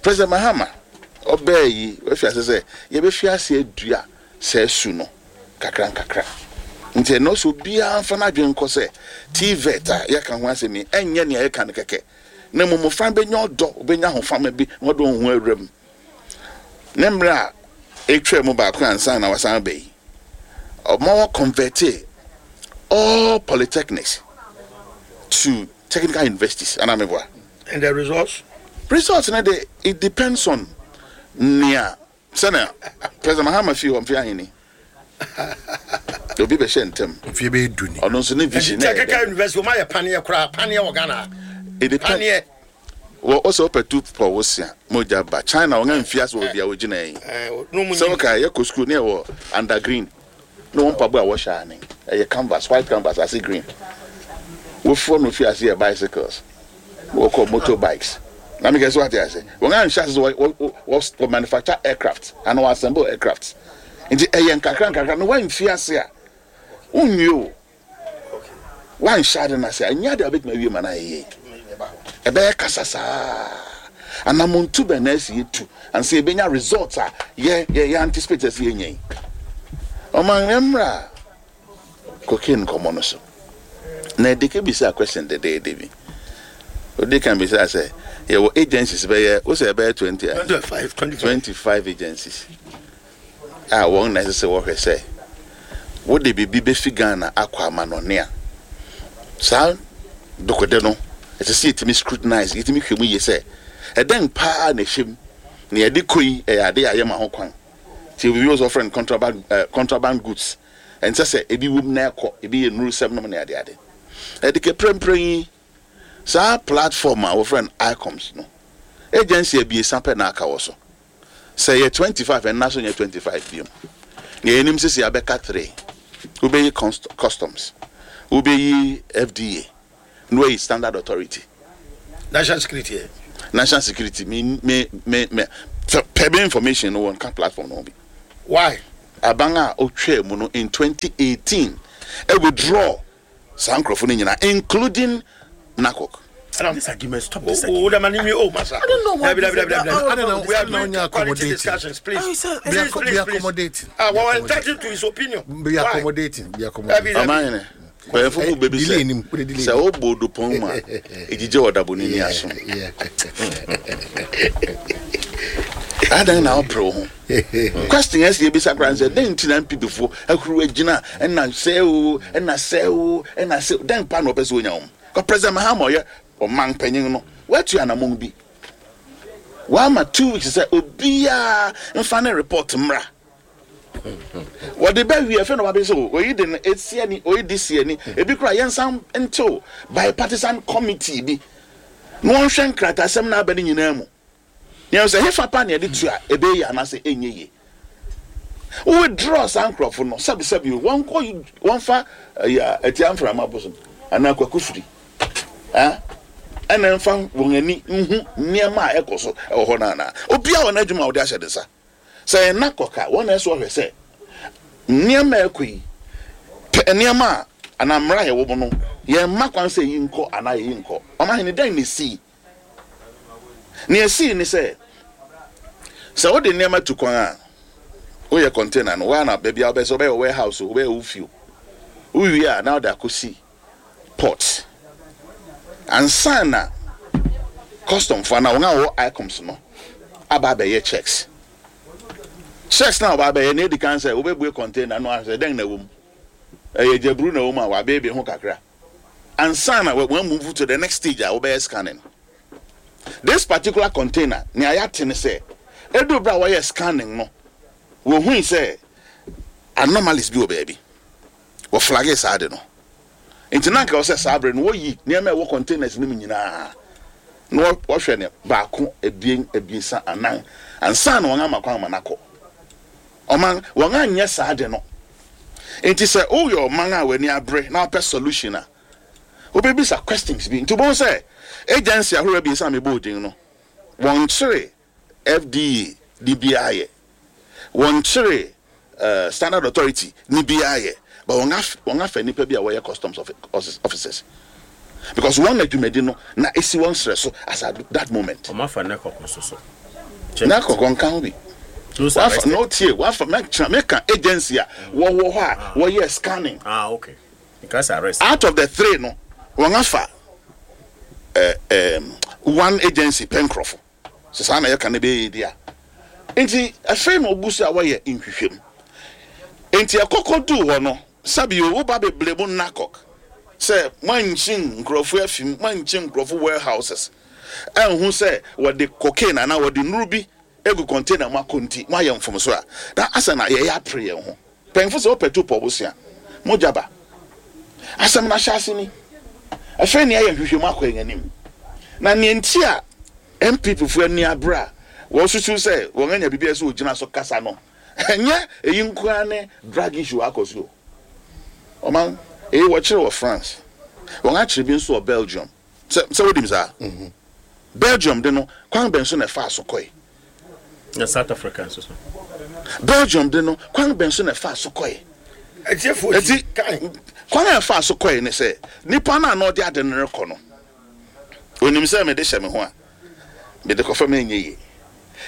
President Mahama ɔbɛɛ yi, wafi ase sɛ yɛbɛfi ase adua sɛ su no kakra nkakra. Nti ɛno nso obiara mfa n'adwene nkɔ sɛ TVET a yɛka ho asɛm yi, ɛnyɛ nea yɛka no kɛkɛ, na mmom mmɔfra bɛnya ɔdɔ, ɔbɛnya ahofama bi na wɔde wɔn ho awura mu. Ne mmerɛ a ɛtwa mu baako ansa na wasan ba yi, ɔma wɔ convert all polytechnics to technical universities anamibua. And the results? Results no de, it depends on nea sɛnea President Mahama fi hɔ mfe ahene obi bɛhyɛ ntɛm. Mfie bɛyɛ du ni. Ɔno nso ne vision na ɛyɛ Technical dɛn? university wɔn ayɛ paneɛ koraa, paneɛ wɔ Ghana. It depends. Paneɛ. Wɔ ɔsɛ ɔpɛ tu pɔ wosia mogya ba China, wɔn mfi ase wɔ bia wɔgyina yi. Ɛɛ no mu. Sɛ wɔka yɛkɔ school ne yɛwɔ under green ne wɔn mpaboa a wɔhyɛ ane ɛyɛ canvas, white canvas ase green. Wofoɔ no fi ase yɛ bicycles, wɔkɔ motorbikes na mekɛ sɛ wate ase. Wɔn anhyɛ ase sɛ wɔ wɔ wɔ wɔ manufacture aircraft ana wɔ assemble aircraft. Nti ɛyɛ nkakra nkakra na wɔamfi ase a wonwie o. Wanhyɛ ade no ase a, ɛnyɛ ade a wobɛtumi awie ma no ayɛ yie. Ɛbɛyɛ kasa saa. Anamontu bɛn na asi yɛtu ansa yɛbɛnya result a yɛ yɛ yɛ anticipate sɛ yɛnya yi? Ɔman mmerɛ a cocaine nkɔmmɔ no so na ɛde ke bisa question dɛdɛɛdɛ bi. Odi kan bisa sɛ yɛwɔ agencies bɛyɛ wo sɛ ɛbɛyɛ twenty a Twenty five, twenty five. Twenty five agencies a wɔn na ɛsɛ sɛ wɔhwɛ sɛ wode biribi bɛfi Ghana akɔ amanɔne a, saa dokode no ɛsɛ sɛ yɛtumi scrutinize, yɛtumi hwɛ mu yie sɛ ɛdɛn paa na ɛhyɛ mu na yɛde kɔ yi. Ɛyɛ ade a yɛma ho kwan nti obi wɔ sɛ ɔfrɛ no contraband, uh, contraband goods. Ɛnsɛ sɛ ebi wom na ɛkɔ, ebi yɛ nnurusɛm nom ne adeade. Ɛde kɛ prɛmprɛn yi, saa platform a wɔfrɛ no ICUMS no, agency abiesa pɛ na aka wɔ so. Sɛ yɛ twenty five, ɛnna so nyɛ twenty five biom. Nea yɛnim sisi abɛka three: wobɛyi customs, wobɛyi F D A, na wɔyi Standard Authority. National security yɛ. National security, me me me me pɛ bɛ information no wɔn ka platform no ho bi. Why? Aban a otwa mu no in twenty eighteen Ɛ withdraw saa nkurɔfo no nyinaa, including NACOC. This argument, stop this Oh, argument. oh, the man, oh, massa. I don't know why Dabi, this- dabi, dabi, dabi. I I don't know. We are I don't know doing you're quality accommodating. discussions, please. Oh, sir, Be Please, acco- please, be please. accommodating. Ah, Be well, we're accommodating. entitled to his opinion. Be Why? accommodating. Be accommodating. Dabi, dabi. Ɔman yɛn mpanyinfo mu bɛbi Delay nim, wode sɛ delay sɛ nim. wobɔ odupɔn mu a egyigye wɔ daboni ni aso. Yeah. Adan na ɔpere wo ho question ɛsɛ yɛbisa koraa sɛ dɛn nti na N P P foɔ ahuru agyina ɛna sɛ o ɛna sɛ o ɛna sɛ dɛn pa na ɔpɛ sɛ onya wɔn kɔ. President Mahama, ɔyɛ ɔman panyin no, watu anammɔn bi, wama two weeks sɛ obiara mfa ne report mmra. Wɔde bɛ wie fɛn na wabɛ sɛ o oyi de no esi ani, oyi de si ani, ebi kora yɛnsan ntew bipartisan committee bi na wɔnhwɛ nkratasɛm na aba ne nyinaa mu yɛn sɛ hefa pa na yɛde tu a ɛbɛyɛ anaasɛ ɛnyɛ yie. Withdraw saa nkurɔfo no, sɛbisɛbi o, wɔnkɔ wɔnfa ɛyɛ ɛtia mframa bosom anaa kwaku firi ah ɛna nfa wɔn ani nhu nneɛma a ɛkɔ so ɛwɔ hɔ naana. Obiara wɔ n'adwuma a wɔde ahyɛ ne nsa sɛ ɛna kɔka wɔn na ɛsɛ ɔhwɛ sɛ nneɛma a ɛkɔ yi pɛ, nneɛma a anaa mmara a yɛwɔ mu no, yɛn mma kwan sɛ eyi nkɔ anaa eyi nkɔ. Ɔmo ahene dɛn na esi nea esi ni sɛ sɛ wode nneɛma tu kwan a woyɛ container no waa na baabi a wobɛ sɛ wobɛyɛ warehouse o, wobɛyɛ wo fie o, wowie a na wode akɔsi port ansa na custom fo anaa wɔn a wɔwɔ ICUMS no aba abɛyɛ checks. Checks na ɔba abɛyɛ na edi kan sɛ wobɛbue container no ahwɛ sɛ dɛn na ɛwɔ mu, ɛyɛ gyaburu na ɛwɔ mu a wabɛɛbɛ ho kakra ansa na wɔn move to the next stage a wobɛyɛ scanning. This particular container, nea yɛate ne sɛ edu bere a wɔyɛ scanning no, wɔhui sɛ anomalies bi wɔ baabi, wɔ flag saa de no. Nti na nka wɔ sɛ saa bere no wɔyi nneɛma a ɛwɔ containers no mu nyinaa na wɔ- wɔhwɛ ne baako, ebien, ebiesa, anan ansa na wɔn ama kwan ama n'akɔ. Ɔman wɔn anyɛ saa de no. Nti sɛ woyɛ ɔman a w'ani abere na wopɛ solution a, wobɛbisa questions bi. Nti wobɛhu sɛ agency ahorow abiesa a mebɔ odin no, wɔnkyere F D A de biara yɛ, wɔnkyere uh, Standard Authority ne biara yɛ, but wɔn af wɔn afa nipa bi a wɔyɛ customs officers because wɔn na dwumadi no na esi wɔn srɛ so as at that moment. Ɔmo afa ne kɔkɔ so so. Na kɔkɔ nka ho bi. Those wafa arrested. No, tie, wafa mɛkyerɛ mɛka agency a wɔwɔ hɔ a wɔyɛ scanning. Ah, okay. Because arrest. Out of the three no, wɔn afa ɛɛ ɛɛm one agency pɛ nkorɔfo sɛ saa na yɛka ne bɛyɛ di a. Nti afei na ogu so a wɔyɛ nhwehwɛmu. Nti ɛkɔkɔ duu hɔ no, sabi o, woba bebree mu NACOC sɛ moankyi nkurɔfo afim, moankyi nkurɔfo warehouses ɛnhu sɛ wɔde cocaine anaa wɔde nnuru bi egu container mu akɔ, nti moayɛ mfomso a na asa na yɛyɛ apere yɛn ho. Mpanyinfo sɛ wopɛ tu pɔ bosea mogya ba asɛm no ahyɛ ase ni. Afei nea yɛ nhwehwɛmu akɔ yɛn anim na nea nti a N P P fo ani abere a wɔsusu sɛ wɔn anya biribi a ɛsɛ ogyina so kasa no, ɛnyɛ eyi nkoa ne drug issue akɔ so o. Ɔman eyi wɔkyerɛ wɔ France, wɔn akyerɛ bi nso wɔ Belgium. sɛ sɛ wodim saa Belgium de no, kwan bɛn so na ɛfa so kɔe? Na South Africa nso so. Belgium de no, kwan bɛn so na ɛfa so kɔe? Ɛtiɛfoɔ eti ti kan. Kwan a ɛfa so kɔe ne sɛ nipa no a na ɔde ade no rekɔ no, onim sɛ mede hyɛ me ho a mede kɔfa me nyɛ yie,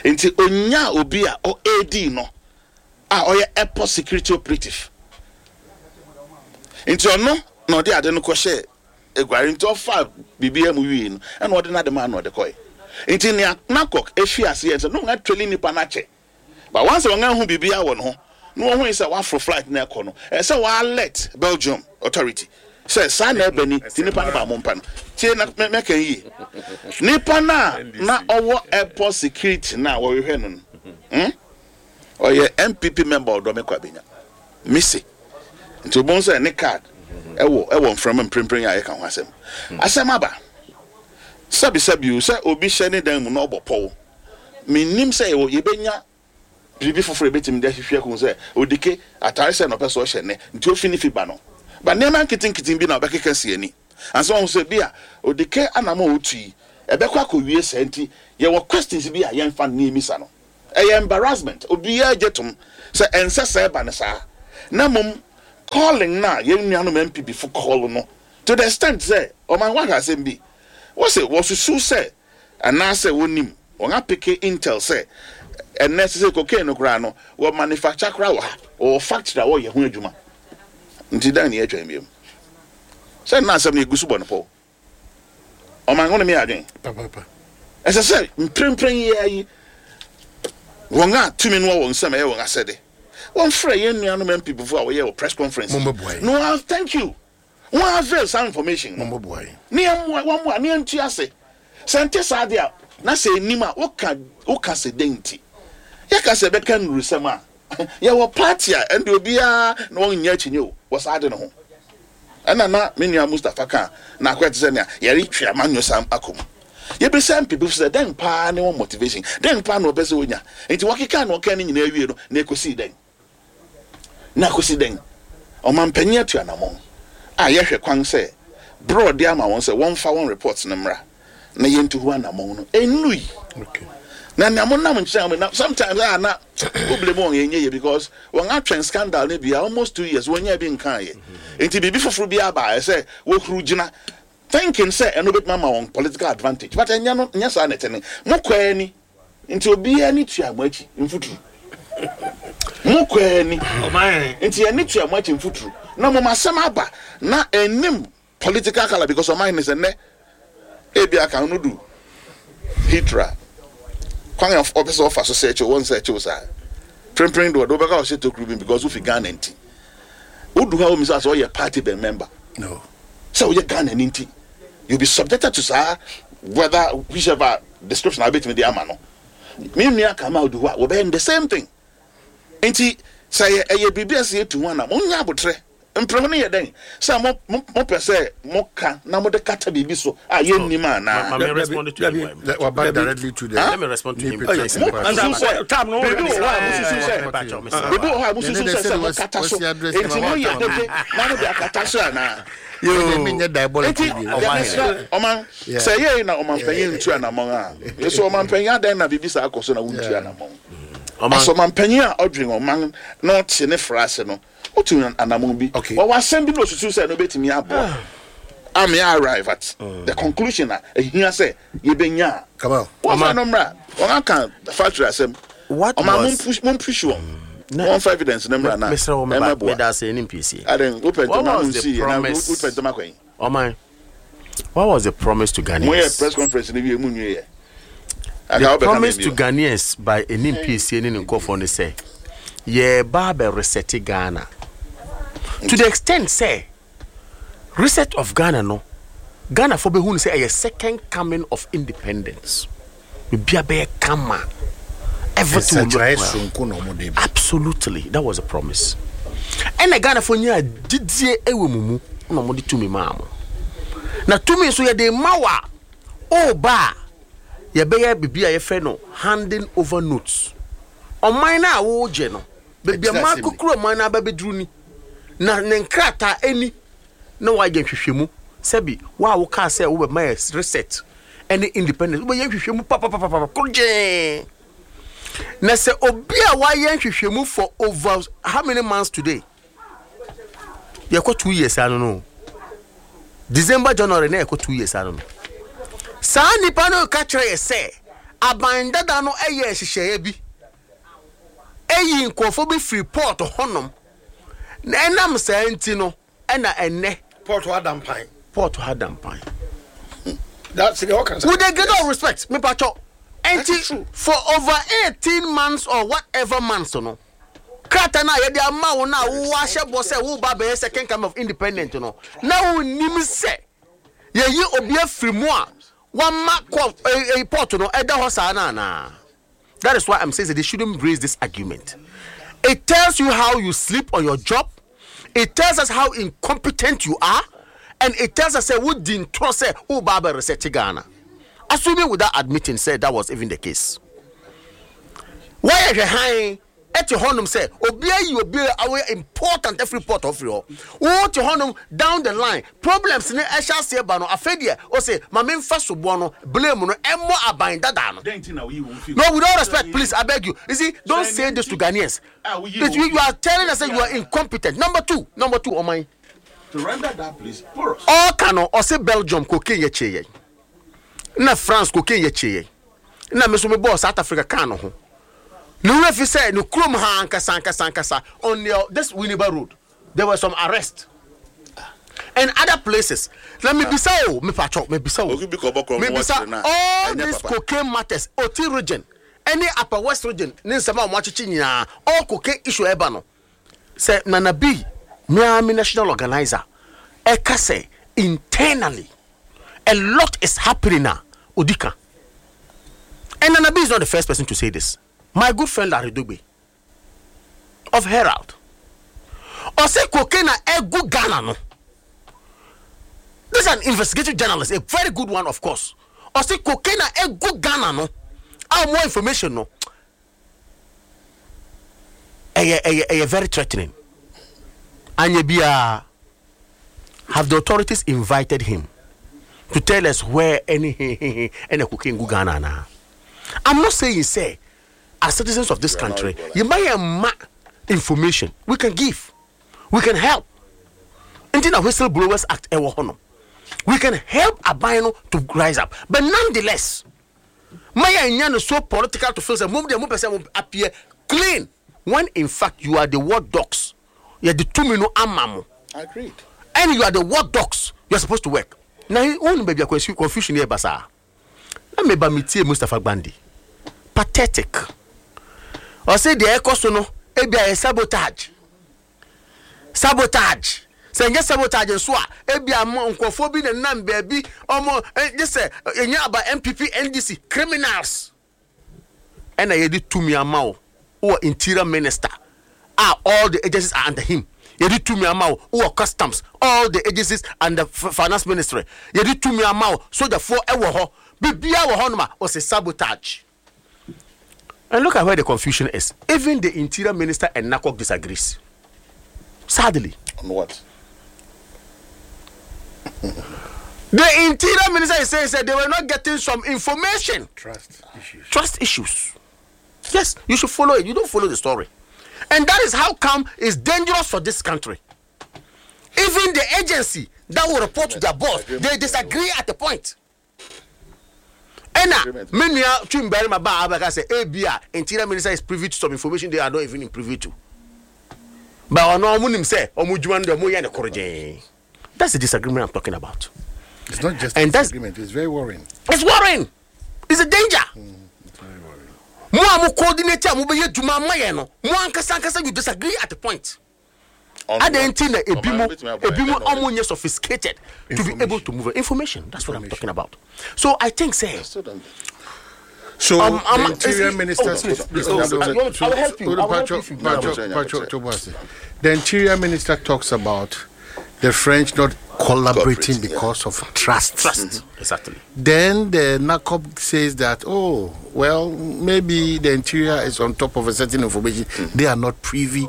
nti onya obi a ɔadi no a ɔyɛ airport security operative, nti ɔno na ɔde ade no kɔhyɛ eguare. Nti ɔfa biribi mu wie no, ɛna ɔde n'ade maa na ɔde kɔe. Nti nea NACOC efi ase yɛ sɛ no wɔn atweli nipa n'akyɛ, but once wɔn ahu biribi awɔ ne ho na wɔn hu sɛ waforo flight na ɛkɔ no, ɛsɛ wɔn alert Belgium authority sɛ saa na ɛbɛ ni. Ti nipa no ba mo mpa no tie na mɛ mɛka yie, nipa na na ɔwɔ airport security na wɔrehwɛ no no hmm? Ɔyɛ N P P member, Ɔdɔmi Kwabenya misi. Nti obon sɛ ne card ɛwɔ ɛwɔ nframa mprempren a yɛka ho asɛm asɛm aba. Sɛbisɛbi o, sɛ obi hyɛ ne dan mu na ɔbɔ pɔw, menim sɛ yɛwɔ yɛbɛnya biribi foforɔ yɛbɛtumi de ahwehwɛ ko sɛ odike atare sɛ na ɔpɛ sɛ ɔhyɛ nɛ nti ofi ne fi ba no ba, nneɛma nketenkete bi na ɔbɛkeka si ani ansa wɔn sɛ bi a odike anam a otu yi ɛbɛkɔ akɔwie sɛ. Nti yɛwɔ questions bi a yɛmfa nneɛmisa no. Ɛyɛ embarrassment, obiara gye tom sɛ ɛnsɛ sɛ ɛba no saa, na mmom Calling na yɛn nuanom N P P fo call no to the extent sɛ ɔman wahwɛ asɛm bi, wɔsɛ wɔsusu sɛ anaasɛ wɔnim wɔn apick intel sɛ ɛnɛ sɛ cocaine no koraa no, wɔ manufacture koraa wɔ ha, wɔwɔ factory a wɔyɛ ho adwuma. Nti dan ne yɛtwɛn biom sɛ nna asɛm no yɛgu so bɔ no pɔw. Ɔman wo ne me adwen Papapa. Ɛsɛ sɛ mprempren yi ara yi, wɔn a tumi no wɔ wɔn nsɛm, ɛyɛ wɔn asɛde, wɔmfrɛ yɛn nuanom N P P fo a wɔyɛ wɔ press conference. Mommɛboa yɛn. No ah, thank you, wɔn avail some information no. Mommɛboa yɛn. Ne yɛmmoa wɔn mmoa ne yɛntu ase sɛ nte saa deɛ a, na sɛ enim a woka woka sɛ den nti yɛka sɛ ɛbɛka nnurusɛm a yɛwɔ party a ɛnde obiara na wɔn nyɛ akyinnye o wɔ saa de no ho. Ɛna na me nua Mustapha ka na akɔyɛ te sɛ nea yɛretwe amanyɔ sam akɔ mu. Yɛbɛsɛ N P P sɛ dɛn paa ne wɔn motivation, dɛn paa na wɔpɛ sɛ wɔnya? Nti wɔkeka na wɔka ne nyinaa wie no, na ɛkɔsii dɛn? Na ɛkɔsi dɛn? Ɔmanpanyin atu anammɔn a yɛhwɛ kwan sɛ berɛ ɔde ama wɔn sɛ wɔmfa wɔn report no mmra na yɛntu ho anammɔn no ɛnnui. Okay. Na nea mo nam nkyɛn mo na sometimes a na wo blame wɔn, yɛnyɛ yɛ because wɔn atwɛn scandal ne bia almost two years wɔn nyɛ bi nkan yɛ. Nti biribi foforɔ bi aba a ɛsɛ wɔhuru gyina thinking sɛ ɛno bɛtumi ama wɔn political advantage, but ɛnyɛ no, nyɛ saa na ɛtɛ ne mo kɔ ani. Nti obiara ni tua mo akyi mfuturu, mo kɔ ani. Ɔman. Nti yɛne tua mo akyi mfuturu na mo asɛm aba na ɛnim political colour because ɔman ne sɛ nnɛ ebi aka no du hitra kwan a ɔpɛ sɛ ɔfa so sɛ ɛkyɛw wɔn sɛ ɛkyɛw saa prempren de ɔde wobɛka ɔhyɛ tokuru bi because wofi Ghana. Nti wodu ha, wɔn sɛ ɔyɛ party bɛn member? No. Sɛ woyɛ Ghana ni nti you be subjected to saa, whether whichever description a wobɛtumi de ama no. Me nua kama odu hɔ a, wɔbɛyɛ the same thing. Nti sɛ ɛyɛ ɛyɛ biribi a sɛ yɛtu ho ana monyɛ abotrɛ mpere ho no yɛ dɛn sɛ mo mo mopɛ sɛ moka na mode kata biribi so a yɛnnim Ma, anaa? ma me respond to him. Let- We're back directly to the. Let me respond to him. New Please. Patriotic Mo Party. susu sɛ Time no, biribi wɔ hɔ a mosusu sɛ biribi wɔ hɔ a mosusu sɛ sɛ mokata so, enti moyɛ dede na mode akata so anaa? Yo, menyɛ diabolic Nti bi. yɛmesrɛ ɔman sɛ yɛi na ɔmampanyin ntu anammɔn a, yɛsɛ ɔmampanyin adɛn na biribi saa akɔ so na wontu anammɔn? Asɛ ɔmampanyin a ɔdwen ɔman na ɔte ne fra ase no, wotu anammɔn bi. Okay. Wɔwɔ asɛm bi na osusu sɛ no bɛtumi aboa ame arrive at the conclusion a ɛhia sɛ yɛbɛnya a Kamal. wɔmfa no mmra. Wɔn aka factory asɛm. What Ɔma was- mompush wɔn, wɔmfa evidence no mmra na Mesrɛ wo, meba ɛmɛboa. meda ase ne mpiesie. Aden wopɛ What ntɛm ano was the nsi yɛ na promise? wopɛ ntɛm akwan. Ɔman, what was the promise to Moyɛ Ghanaians? press conference no wie mu nwie yɛ. The promise to Ghanaians by Anim P C ne ne nkurɔfoɔ no sɛ yɛba abɛ reset Ghana to the extent sɛ reset of Ghana no, Ghana fo bɛhu no sɛ ɛyɛ second coming of independence, biribi abɛyɛ kama, everything will Nsakyerɛ look well. soronko na ɔmo de ba. Absolutely, that was a promise. Ɛna Ghanafoɔ nyaa gyidie ɛwɔ mu mu na ɔmode tumi maa mo. Na tumi nso yɛde ma wo a, ɔɔba a yɛbɛyɛ biribi a yɛfrɛ no handing over notes. Ɔman no a wɔregye no, baabi a Ɛkyerɛ maa asɛm bi. kukuru ɔman no aba bɛduru ni na ne nkrataa ani na wayɛ nhwehwɛmu. Sɛbi wo a wokaa sɛ wobɛma yɛ reset ɛne independence, wobɛyɛ nhwehwɛmu papapapapa korgyee. Na sɛ obi a wayɛ nhwehwɛmu for over how many months today, yɛkɔ two years ano no, December, January na yɛkɔ two years ano no, saa nipa no ka kyerɛ yɛ sɛ aban dada no yɛ nhyehyɛeɛ bi ɛyi nkurɔfoɔ bi firi port hɔnom, na ɛnam saa nti no ɛna ɛnɛ Port hɔ adampan. Port ha dampan. That's the all can With the greater respect, mepatwɔ, nti for over eighteen months or whatever months no, krataa no a yɛde ama wo no a wowɔ ahyɛ bɔ sɛ woba bɛyɛ second coming of independent no, na wonnim sɛ yɛyi obi afiri mu a wama kɔ eh, eh, port no ɛda hɔ saa no anaa? That is why I'm saying that they shouldn't raise this argument. It tells you how you sleep on your job, it tells us how incompetent you are, and it tells us sɛ wodi ntorɔ sɛ woba abɛ reset Ghana, assuming without admitting say that was even the case. Wɔyɛ hwɛ han Ɛte hɔnom sɛ obi ayi obi a ɔyɛ important afiri port ɔfiri hɔ. Wote hɔnom down the line problems ne ɛhyɛ aseɛ ba no, afei deɛ ɔsɛ ma memfa soboɔ no, blame no ɛmmɔ aban dadaa no. No, with all respect, please, I beg you. You see, don't say this to Ghanaians. It, you, you are telling us that you are incompetent. Number two, number two, ɔman to render that place porous. Ɔka no ɔsɛ Belgium cocaine yɛ kye yɛn, na France cocaine yɛ kye yɛn, na me nso mebɔɔ South Africa kaa no ho. Ne wura fi sɛ ne kurom ha ankasa ankasa ankasa on the, this Winneba road there were some arrest and other places. Na mebisa o, mepatwɔ, mebisa o, Obi bi kɔ bɔ kɔn mu mebisa wɔkyerɛ na all ɛnyɛ these papa. cocaine matters, Oti Region ɛne Upper West Region ne nsɛm a wɔn akyekye nyinaa, all cocaine issue ɛba no sɛ Nana B miami national organizer ɛka sɛ internally a lot is happening na odika. And Nana B is not the first person to say this. My good friend Larry Dogbe of Herald ɔsɛ cocaine na ɛgu Ghana no, this is an investigative journalist, a very good one of course. Ɔsɛ cocaine na ɛgu Ghana no a more information no ɛyɛ ɛyɛ ɛyɛ very threatening. Anya biara, have the authorities invited him to tell us where any any cocaine gu Ghana na? I'm not saying say as citizens of this We are not country equal. you might ma information we can give, we can help. Nti na Whistleblowers Act ɛwɔ hɔ no, we can help aban no to rise up, but nonetheless maya nya no so political to feel say mo deɛ mo pɛ sɛ mo appear clean when in fact you are the watchdogs. Yɛde tumi no ama mo. Agreed. And you are the watchdogs, you are supposed to work. Na wɔn baabi a confu- confusion yɛ basaa na meba metie Mustapha Gbande, pathetic. Ɔsɛ deɛ ɛkɔ so no ebi a yɛ sabotage, sabotage. Sɛ nyɛ sabotage nso a, ebi a mo nkurɔfoɔ bi na nam baabi ɔmo ɛ gye sɛ ɛnyɛ aba N P P N D C criminals. Ɛna yɛde tumi ama wo, wowɔ interior minister a all the agencies are under him. Yɛde tumi ama wo, wowɔ customs, all the agencies and the f- finance ministry. Yɛde tumi ama wo, sogyafoɔ ɛwɔ hɔ, biribiara wɔ hɔnom a ɔsɛ sabotage. And look at where the confusion is. Even the interior minister and NACOC disagrees, sadly. On what? The interior minister is saying that they were not getting some information. Trust issues. Trust issues, yes. You should follow it. You don't follow the story, and that is how come it's dangerous for this country. Even the agency that will report to their boss, they disagree at the point. Ɛna Agreement. me nua twim barima ba abɛka sɛ ebi a interior minister is privy to some information they are not even privy to, but ɔno ɔmo nim sɛ ɔmo dwuma no deɛ ɔmo yɛ ne koro gyee. That's the disagreement I'm talking about. It's not just And a that's- disagreement. It's very worrying. It's worrying, it's a danger. It's very worrying. Mo a mo coordinate a mo bɛyɛ dwuma ama yɛn no, mo ankasa ankasa you disagree at the point. On Adan what? nti na ebi mo Ɔman bɛtumi aboa ebi mo yɛn na ɔmo nyɛ sophisticated to be able to move it. Information, that's what I'm talking about. So I think say Still don't. So Um, um, the interior is- minister. oh, please, please, Hold hold on, on. hold on. I will help you. Hold on, I will help Pacho- you if you- Pacho- Yeah, Pacho yeah. Tobuasi. The interior minister talks about the French not collaborating Cooperating, yeah. because of trust. Trust, exactly. Then the NACOB says that, oh, well, maybe the interior is on top of a certain information they are not privy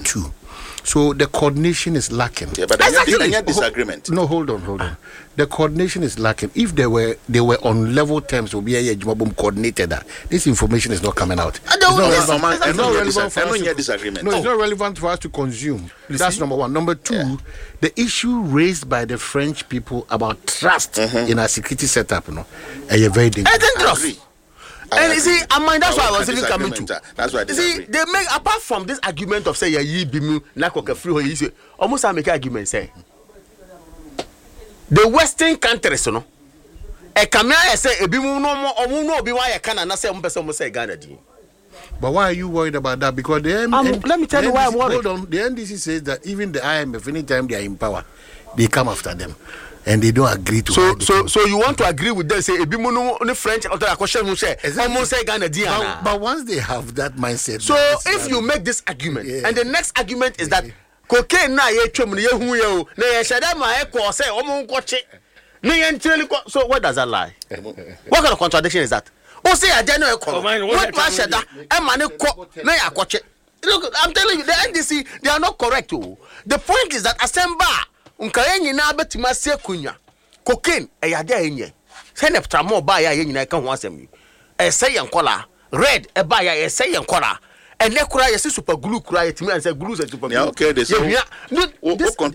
to. So the coordination is lacking. Yeah, but Exactly. exactly. Any disagreement. No, hold on, hold on. The coordination is lacking. If they were they were on level terms, will be a boom coordinated. That this information is not coming out. I don't- It's not Yes, relevant, exactly. it's not relevant for I don't us hear to- disagreement. No, it's not relevant for us to consume. That's number one. Number two, the issue raised by the French people about trust in our security setup, no, eh, very dangerous. It's dangerous. Agree. I And you see, agree. I mean, that's I why I would was even coming to. disagreement, uh, That's why I You see, disagree. they make apart from this argument of say yeah, yi bi mu na kɔkɛ free hɔ yi say almost I make argument say the western countries no ɛkame ayɛ sɛ ebi mu no ɔmo ɔmo no obi wa ayɛ Ghana na sɛ ɔmo pɛ sɛ ɔmo sɛ Ghana din. But why are you worried about that? Because the M- Um, N- let me tell the you why I'm N D C worried. Hold on. The N D C says that even the I M F, anytime they are in power, they come after them, and they don't agree to. So hide the so thing. So you want to agree with them say ebi mu no ne French ɔtɔ akɔhyɛ mu sɛ Exactly. ɔmo sɛ Ghana din But, ana. but once they have that mindset, So then it's if not- you make this argument Yeah. and the next argument is that cocaine na yɛ twam no yɛhu yɛ o na yɛhyɛ dɛ ma ɛkɔ sɛ ɔmo nkɔkye ne yɛn ntireli kɔ, so what does that lie? What kind of contradiction is that? O se adeɛ no ɛkɔ no Ɔman, what wɔtuma ahyɛ da ɛma ne kɔ na yɛ akɔkye. Look, I'm telling you, the N D C, they are not correct o. The point is that asɛm ba a, nka yɛn nyinaa bɛtumi ase akonnwa. Cocaine ɛyɛ ade a yɛnyɛ sɛnɛ tramɔ baa yɛ a yɛn nyinaa ka ho asɛm yi, ɛsɛ yɛn kɔla red ɛbaa yɛ a ɛsɛ yɛn kɔla. Ɛnɛ koraa yɛsɛ super glue koraa, yɛtumi ansɛ glue sɛ super Nea glue ɔkɛ de sɛ yɛhia no. wo This wo